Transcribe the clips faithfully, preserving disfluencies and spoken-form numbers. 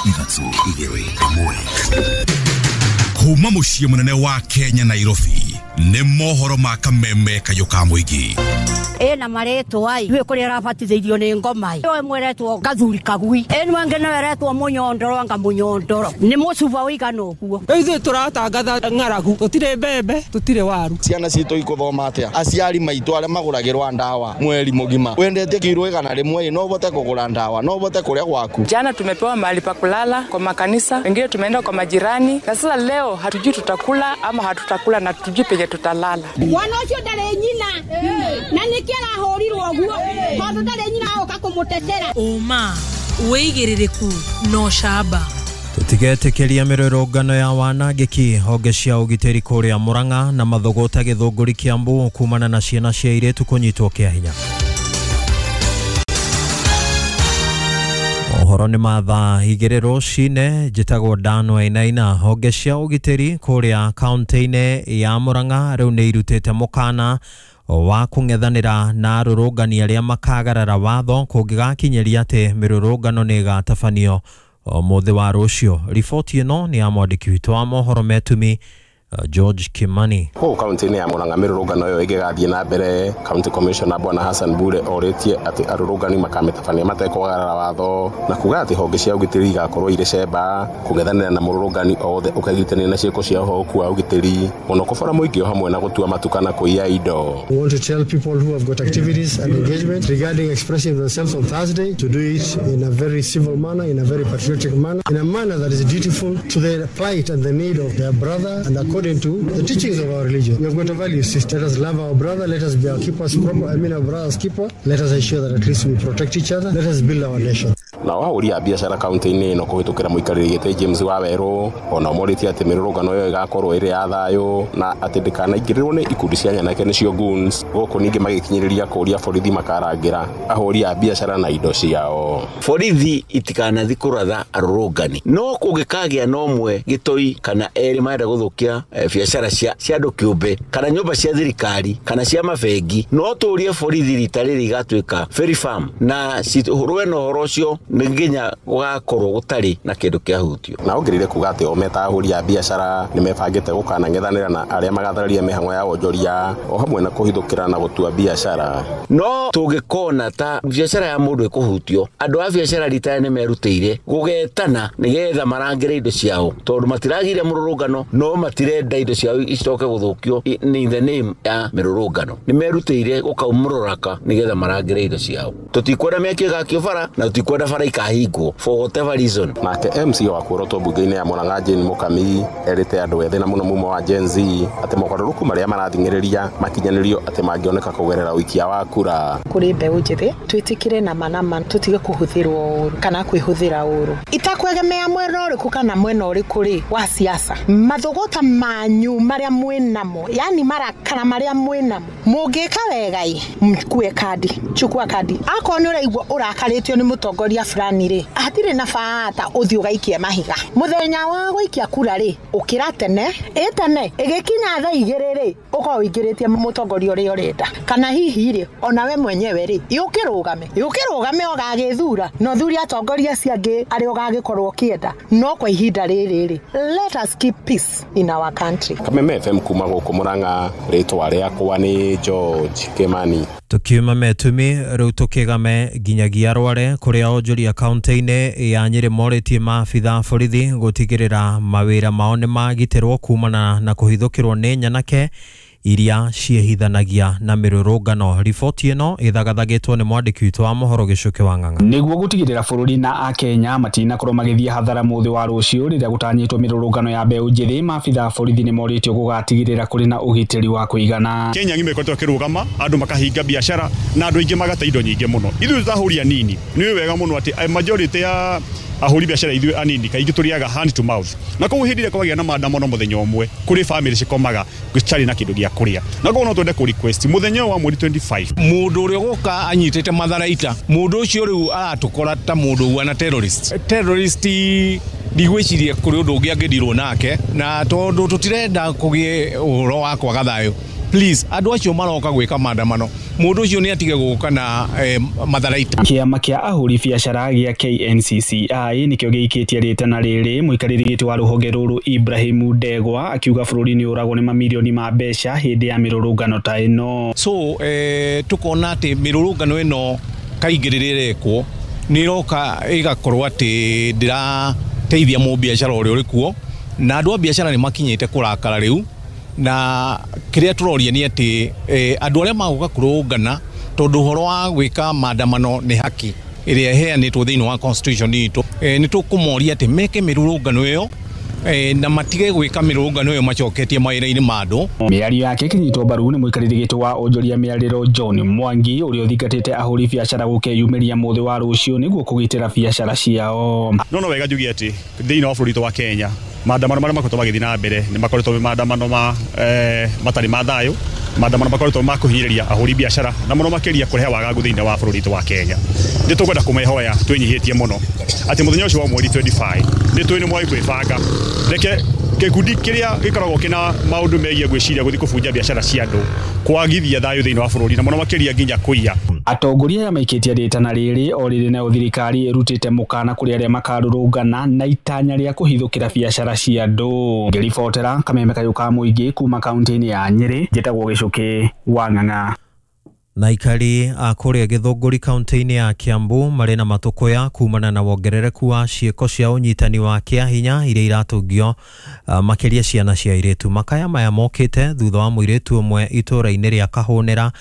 Ithatũ, igĩrĩ, ĩmwe. Kuma mũciĩ mũnene wa Kenya, Nairobi, nĩ mohoro ma Kameme kayũ ka mũingĩ. Ĩna marĩtwa ai iwe kũrĩa arabatithĩirio nĩ ngoma ĩ ĩmwe ĩretwo gathuri kagui, ĩno ĩngĩ nayo ĩretwo mũnyondoro, anga mũnyondoro nĩ mũcuba ũigana ũguo. Rĩu ithuĩ tũratangatha ng'aragu, tũtirĩ mbembe, tũtirĩ waru. Ciana citũ ikuthoma atia? Aciari maitũ arĩa magũragĩrwa ndawa mweri mũgima, wendete kiro igana rĩmwe, no ũhote kũgũra ndawa, no ũhote kũrĩa gwaku? Jana tumepewa mahali pa kulala kwa makanisa, wengine tumeenda kwa majirani, na sasa leo hatujui tutakula ama hatutakula na hatujui penye tutalala. Mwana ũcio ndarĩ nyina na nĩkĩo arahũrirwo ũguo, tondũ ndarĩ nyina oka kũmũtetera. Ũma, wĩigĩrĩrĩku na ũcamba. Tũtigetĩkĩria mĩrũrũngano ya wanangĩki. Honge cia ũgitĩri kũrĩa Murang'a na Mathogota Gĩthũngũri Kiambu kumana na ciana cia airĩtu kũnyitwo kĩa hinya. Mohoro nĩ ma thaa igĩrĩ rũcinĩ. Njĩtagwo Dan Wainaina. Honge cia ũgitĩri kũrĩa kaunti-inĩ ya Murang'a rĩu nĩ irutĩte mũkana wa kũng'ethanĩra na arũrũngani arĩa makagarara watho kũngĩgakinyĩria atĩ mĩrũrũngano nĩ ĩgatabanio mũthĩ wa rũciũ. Riboti ĩno nĩ ya mwandĩki witũ wa mohoro Metumi, George Kimani. Kũu kaunti-inĩ ya Murang'a mĩrũrũngano ĩyo ĩngĩgathiĩ na mbere, County Commissioner Bwana Hassan Bure orĩtie atĩ arũrũngani makamĩtabania matekwagarara watho, na kuga atĩ honge cia ũgitĩri igakorwo irĩ cemba kũng'ethanĩra na mũrũrũngani o wothe ũkegitania na ciĩko cia ũhoku wa ũgitĩri, mũno kũbora mũingĩ o hamwe na gũtua matuka na kũiya indo. We want to tell people who have got activities and engagement regarding expressing themselves on Thursday to do it in a very civil manner, in a very patriotic manner, in a manner that is dutiful to the plight and the need of their brother and according to the teachings of our religion. We have got a value system. Let us love our brother. Let us be our keepers proper. I mean our brother's keeper. Let us ensure that at least we protect each other. Let us build our nation. Nao ahũri a biacara kaunti-inĩ ĩno kũhĩtũkĩra mũikarĩri gĩtĩ James Wawerũ ona morĩtie atĩ mĩrũrũngano ĩyo ĩgakorwo ĩrĩ ya thayũ na atĩ ndĩkanaingĩrĩrwo nĩ ikundi cia nyanake nĩcio goons, gũkũ ningĩ magĩkinyĩrĩria kũũria borithi makarangĩra ahũri a biacara na indo ciao. Borithi itikanathi kũratha arũrũngani, no kũngĩkagĩa na ũmwe gĩtoi kana erĩ marenda gũthũkia biacara cia cia andũ kĩũmbe kana nyũmba cia thirikari kana cia mabengi, no tũrie borithi rita rĩrĩ igatuĩka very firm na cirũe na ũhoro ũcio nĩ nginya gũgakorwo gũtarĩ na kĩndũ kĩahutio. Na ongereire kuga atĩ o meta ahũri a biacara nĩ mebangĩte gũkanang'ethanĩra na arĩa magathararia mĩhang'o ya wonjoria o hamwe na kũhithũkĩra na gũtua biacara. No tũngĩkona ta biacara ya mũndũ ĩkũhutio, andũ a biacara rita nĩ merutĩire gũgetana nĩgetha marangĩre indo ciao, tondũ matiragire mũrũrũngano no matirenda indo ciao icoke gũthũkio in the name ya mĩrũrũngano. Nĩ merutĩire gũkaumũrũraka nĩgetha marangĩre indo ciao. Tũtikwenda mĩaki ĩgakio bara na tũtikwenda bara ikahingwo for whatever reason. Nake M C wa Kuoroto mbunge-inĩ ya Murang'a Jane Mukami erĩte andũ ethĩ na mũno mumo wa Gen Z atĩ mogarũrũku marĩa marathing'ĩrĩria makinyanĩrio atĩ mangĩoneka kũgerera ũikia wa kura. Kũrĩ mbeũ njĩthĩ twĩtĩkĩre na manama, tũtige kũhũthĩrwo ũru kana kwĩhũthĩra ũru, itakwegemea mwena ũrĩkũ kana mwena ũrĩkũ rĩ wa siasa. Mathogota manyu marĩa mwĩnamo, yani marakara marĩa mwĩnamo, mũngĩka wega mkue kadi, chukua kadi. Akorwo nĩ ũraigua ũrakarĩtio nĩ mũtongoria fulani rĩ, hatirĩ na bata ũthiĩ ũgaikie mahiga. Mũthenya wa gũikia kura rĩ, ũkĩra tene, ĩ tene ĩgĩkinya thaa igĩrĩ rĩ, ũkorwo ũingĩrĩtie mũtongoria ũrĩa ũrenda, kana hihi rĩ ona we mwenyewe rĩ ũkĩrũgame ũkĩrũgame ũgagĩthura na ũthure atongoria acio angĩ arĩa ũgagĩkorwo ũkĩenda. No kwa ihinda rĩrĩ rĩ, let us keep peace in our country. Kameme F M kuma gũkũ Murang'a, rĩtwa rĩakwa nĩ George Kimani. Tukiuma Metumi rĩu tũkĩgame nginyagia Rware kũrĩa onjoria kaunti-inĩ ya Nyĩrĩ morĩtie maabitha borithi gũtigĩrĩra mawĩra mao nĩ magitĩrwo kumana na kũhithũkĩrwo nĩ nyanake iria ciĩhithanagia na mĩrũrũngano. Riboti ĩno ĩthagathagĩtwo nĩ mwandĩki witũ wa mohoro Gĩcuke wa Ng'ang'a. Nĩguo gũtigĩrĩra bũrũri na akenya matinakorwo magĩthiĩ hathara mũthĩ wa rũciũ rĩrĩa gũtanyĩtwo mĩrũrũngano ya mbeũ njĩthĩ, maabitha a borithi nĩ morĩtio gũgatigĩrĩra kũrĩ na ũgitĩri wa kũigana. Kenya ng'ima ĩkoretwo ĩkĩrũgama, andũ makahinga biacara na andũ aingĩ magate indo nyingĩ mũno. Ithuĩ tũtahũri anini nĩ wega mũno atĩ majority ya ahũri biacara ithuĩ anini kaingĩ tũrĩaga hand to mouth, na koguo hĩndĩ ĩrĩa kwagĩa na maandamano mũthenya ũmwe kũrĩ family cikomaga gũtarĩ na kĩndũ gĩa kũrĩa, na koguo no twende kũ request mũthenya wa mweri twenty-five mũndũ ũrĩa ũgũka anyitĩte matharaita, mũndũ ũcio rĩu aratũkora ta mũndũ ũguana terrorist terrorist ndigwĩciria kũrĩ ũndũ ũngĩ angĩndirwo nake, na tondũ tũtirenda kũgĩe ũhoro wa kwaga thayũ, Please andũ acio maroka gwĩka maandamano mũndũ ũcio nĩ atige gũka na eh, matharaita. Kĩama kĩa ahũri biacara gĩa K N C C I nĩkĩo gĩikĩtie rĩtana rĩrĩ. Mũikarĩri gĩtĩ wa rũhonge rũrũ Ibrahim Ndegwa akiuga bũrũri nĩ ũragwo nĩ mamirioni ma mbeca hĩndĩ ya mĩrũrũngano ta ĩno. So eh, tukona atĩ mĩrũrũngano ĩno kaingĩ rĩrĩa ĩrekwo nĩ ĩroka ĩgakorwo atĩ ndĩrateithia mũbiacara ũrĩa ũrĩ kuo, na andũ a biacara nĩ makinyĩte kũrakara rĩu, na kĩrĩa tũroria nĩ atĩ eh, andũ arĩa magũka kũrũngana tondũ ũhoro wa gwĩka maandamano nĩ haki ĩrĩa ĩheanĩtwo thĩinĩ wa constitution itũ, eh, nĩ tũkũmoria atĩ meke mĩrũrũngano ĩyo eh, na matige gwĩka mĩrũrũngano ĩyo macoketie mawĩra-inĩ ma andũ. Mĩario yake ĩkĩnyitwo mbaru nĩ mũikarĩri gĩtĩ wa onjoria mĩarĩro John Mwangi ũrĩa ũthingatĩte ahũri biacara gũkeyumĩria mũthĩ wa rũciũ nĩguo kũgitĩra biacara ciao. No no wega njuge atĩ thĩinĩ wa bũrũri witũ wa Kenya maandamano marĩa makoretwo magĩthiĩ na mbere nĩ makoretwo me maandamano ma eh, matarĩ ma thayũ, maandamano makoretwo ma kũhinyĩrĩria ahũri biacara na mũno makĩria kũrehe wagagu thĩinĩ wa bũrũri witũ wa Kenya. Nĩ tũkwenda kũmehoya twĩnyihĩtie mũno atĩ mũthenya ũcio wa mweri twenty-five nĩ tũĩ nĩ mwai kwĩbanga, reke gĩkundi kĩrĩa gĩkoragwo kĩna maũndũ megiĩ gwĩciria gũthiĩ kũbunja biacara cia andũ kwagithia thayũ thĩinĩ wa bũrũri na mũno makĩria nginya kũiya. Atongoria aya maikĩtie rĩtana rĩrĩ o rĩrĩ nayo thirikari ĩrutĩte mũkana kũrĩ arĩa makarũrũngana na itanya rĩa kũhithũkĩra biacara cia andũ. Ngĩribotera kameme kayũ ka mũingĩ kuma kaunti-inĩ ya Nyĩrĩ, njĩtagwo Gĩcũkĩ wa Ng'ang'a. Na aikari a kũrĩa Gĩthũngũri kaunti-inĩ ya Kiambu marĩ na matũkũya kumana na wongerereku wa ciĩko cia ũnyitani wa kĩahinya iria iratũngio uh, makĩria ciana cia airĩtu. Makaya maya mokĩte thutha wa mũirĩtu ũmwe itũũra-inĩ rĩa Kahũnĩra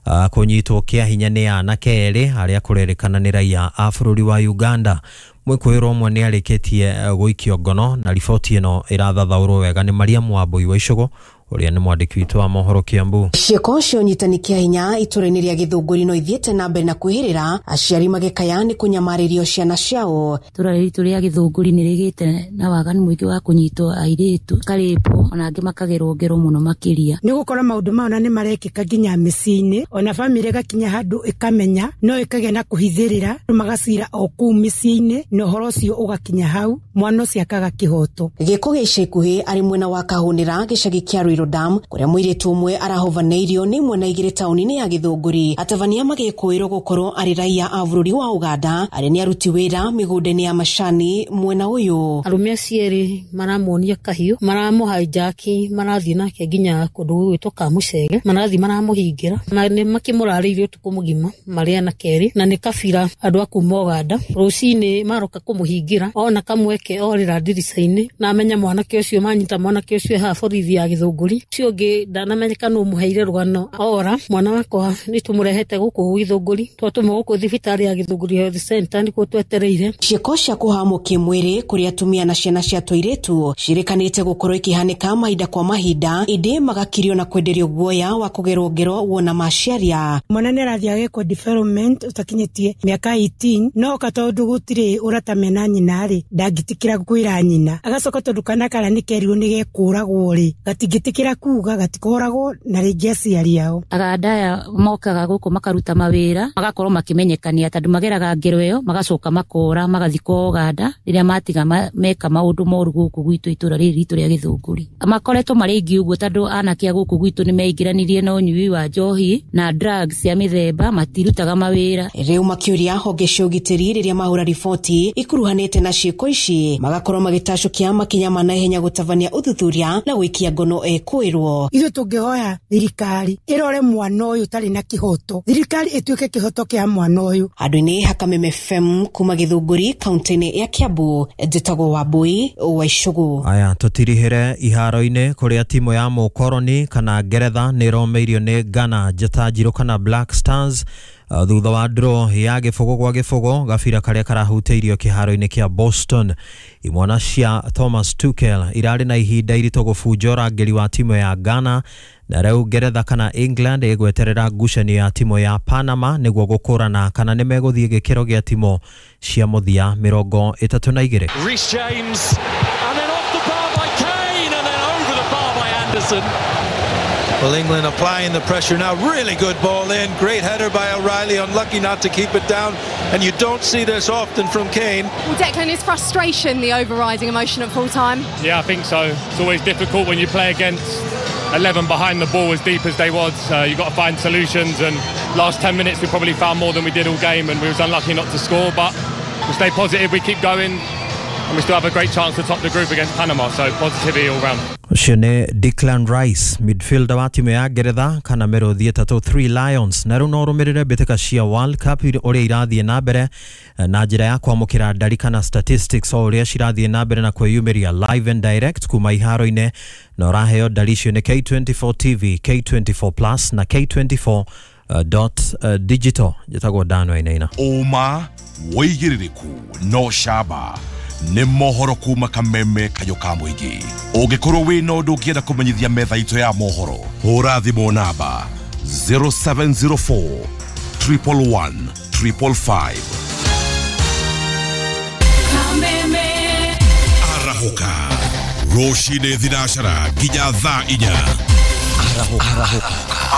uh, kũnyitwo kĩahinya nĩ anake erĩ arĩa kũrerĩkana nĩ raia a bũrũri wa Uganda. Mwĩkũĩrwo ũmwe nĩ arĩkĩtie gũikio ngono, na riboti ĩno ĩrathathaũrwo wega nĩ Mariam Wambui wa Icũgũ ũrĩa nĩ mwandĩki witũ wa mohoro Kiambu. Ciĩko cia ũnyitani kĩa hinya itũũra-inĩ rĩa Gĩthũngũri no ithiĩte na mbere na kwĩhĩrĩra, aciari magĩkaya nĩ kũnyamarĩrio ciana ciao. Itũũra ritũ rĩa Gĩthũngũri nĩ rĩgĩte na waganu mũingĩ wa kũnyitwo airĩtu karĩpwo ona angĩ makagerwo ngero mũno makĩria. Nĩ gũkorwo maũndũ mao na nĩ marekĩka nginya mĩciĩ-inĩ, ona bamĩrĩ ĩgakinya handũ ĩkamenya no ĩkagĩa na kũhithĩrĩra, magacira o kũu mĩciĩ-inĩ na ũhoro ũcio ũgakinya hau mwana ũcio akaga kĩhoto. Gĩko gĩa ica ikuhĩ arĩ mwena wa Kahũnĩra gĩcagi kĩa Ruiru Dam kũrĩa mũirĩtu ũmwe arahovanĩirio nĩ mwena igĩrĩ taũni-inĩ ya Gĩthũngũri. Atabania magĩkũĩrwo gũkorwo arĩ raia a bũrũri wa Uganda arĩa nĩ aruti wĩra mĩgũnda-inĩ ya macani mwena ũyũ. Arũme acio erĩ maramuonia kahiũ, maramũhaijaki, marathiĩ nake nginya kũndũ gũgwĩtwo Kamucege, marathiĩ maramũhingĩra na nĩ makĩmũrarĩirie ũtukũ mũgima marĩ anake erĩ, na nĩ kabira andũ a kuma Uganda. Rũcinĩ maroka kũmũhingĩra ona kamweke orĩra ndirica-inĩ na amenya mwanake ũcio, manyita mwanake ũcio haha borithi ya Gĩthũngũri. Ũcio ũngĩ ndanamenyeka nũ mũheire rũgano ora mwana wakwa nĩ tũmũrehete gũkũ Gĩthũngũri, twatũmwo gũkũ thibitarĩ ya Gĩthũngũri Health Center nĩkuo twetereire. Ciĩko cia kũhamwo kĩmwĩrĩ kũrĩ atumia na ciana cia tũirĩtu ciĩrĩkanĩte gũkorwo ikĩhanĩka mahinda kwa mahinda, ĩndĩ magakirio na kwenderio guoya wa kũgerwo ngero wona maciaria. Mwana nĩ arathiĩ agekwo development ũtakinyĩtie mĩaka eighteen, no ka tondũ gũtirĩ ũrata mena nyina rĩ ndangĩtĩkĩra kwĩra nyina, agacoka tondũ kana karĩa nĩ kerirwo nĩ gekũragwo rĩ gatingĩtĩkĩra kuga gatikoragwo na rĩngĩ aciari ao. Aganda aya mokaga gũkũ makaruta mawĩra magakorwo makĩmenyekania tondũ mageraga ngero ĩyo magacoka makora magathiĩ kwa Uganda rĩrĩa matiga meka maũndũ moru gũkũ gwitũ itũũra rĩrĩ ritũ rĩa Gĩthũngũri. Makoretwo marĩ aingĩ ũguo tondũ anake a gũkũ gwitũ nĩ meingĩranirie na ũnyui wa njohi na drugs cia mĩthemba, matirutaga mawĩra. Rĩu makĩũria honge cia ũgitĩri rĩrĩa mahũra riboti ikuruhanĩte na ciĩko ici magakorwo magĩtacũkia makinya ma naihenya gũtabania ũthuthuria na gũikia ngono ekũĩrwo. Ithuĩ tũngĩhoya thirikari ĩrore mwana ũyũ ũtarĩ na kĩhoto, thirikari ĩtuĩke kĩhoto kĩa mwana ũyũ. Handũ-inĩ ha Kameme F M kuma Gĩthũngũri kaunti-inĩ ya Kiambu, njĩtagwo Wambui wa Icũgũ. Aya tũtirihĩre iharo-inĩ kũrĩa timu ya mũkoroni kana Ngeretha nĩ ĩromeirio nĩ Ghana njata njirũ kana Black Stars thutha wa draw ya gĩbũgũ gwa gĩbũgũ gabira karĩa karahutĩirio kĩharo-inĩ kĩa Boston. Imwana cia Thomas Tuchel irarĩ na ihinda iritũ gũbunja ũrangĩri wa timu ya Ghana, na rĩu Ngeretha kana England ĩgweterera ngucanio ya timu ya Panama nĩguo gũkũrana kana nĩ megũthiĩ gĩkĩro gĩa timu cia mũthia mĩrongo ĩtatũ na igĩrĩ. Reece James, and then off the bar by Kane, and then over the bar by Anderson. Well, England applying the pressure now. Really good ball in. Great header by O'Reilly. Unlucky not to keep it down. And you don't see this often from Kane. Well, Declan, is frustration the overriding emotion at full time? Yeah, I think so. It's always difficult when you play against eleven behind the ball as deep as they was, uh, you got to find solutions, and last ten minutes we probably found more than we did all game, and we was unlucky not to score, but we stay positive, we keep going, and we still have a great chance to top the group against Panama, so positivity all round. Ũcio nĩ Declan Rice, midfielder wa timu ya Ngeretha kana mĩrũthi ĩtatũ Three Lions. Na rĩu no ũrũmĩrĩre mbĩtĩka cia World Cup ũrĩa irathiĩ na mbere na njĩra ya kwamũkĩra ndari kana statistics o ũrĩa cirathiĩ na mbere na kwĩyumĩria live and direct kuma iharo-inĩ, na ũraheo ndari icio nĩ K twenty-four T V, K twenty-four Plus na K twenty-four dot digital. Njĩtagwo Dan Wainaina. Ũma wĩigĩrĩrĩku no camba nĩ mohoro kuma Kameme Kayũ ka Mũingĩ. Ũngĩkorwo wĩna ũndũ ũngĩenda kũmenyithia metha itũ ya mohoro, hũra thimũ namba zero seven zero four triple one triple five. Kameme Arahũka rũcinĩ thinacara nginya thaa inya. Arahũka.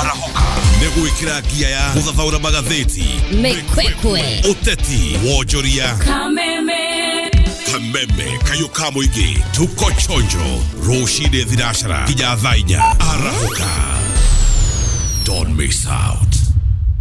Arahũka nĩ gwĩkĩra ngia ya gũthathaũra magathĩti, mĩkwekwe, ũteti, wonjoria. Kameme Kameme Kayũ ka Mũingĩ, tuko chonjo rũcinĩ thinacara nginya thaa inya. Arahũka, don't miss out.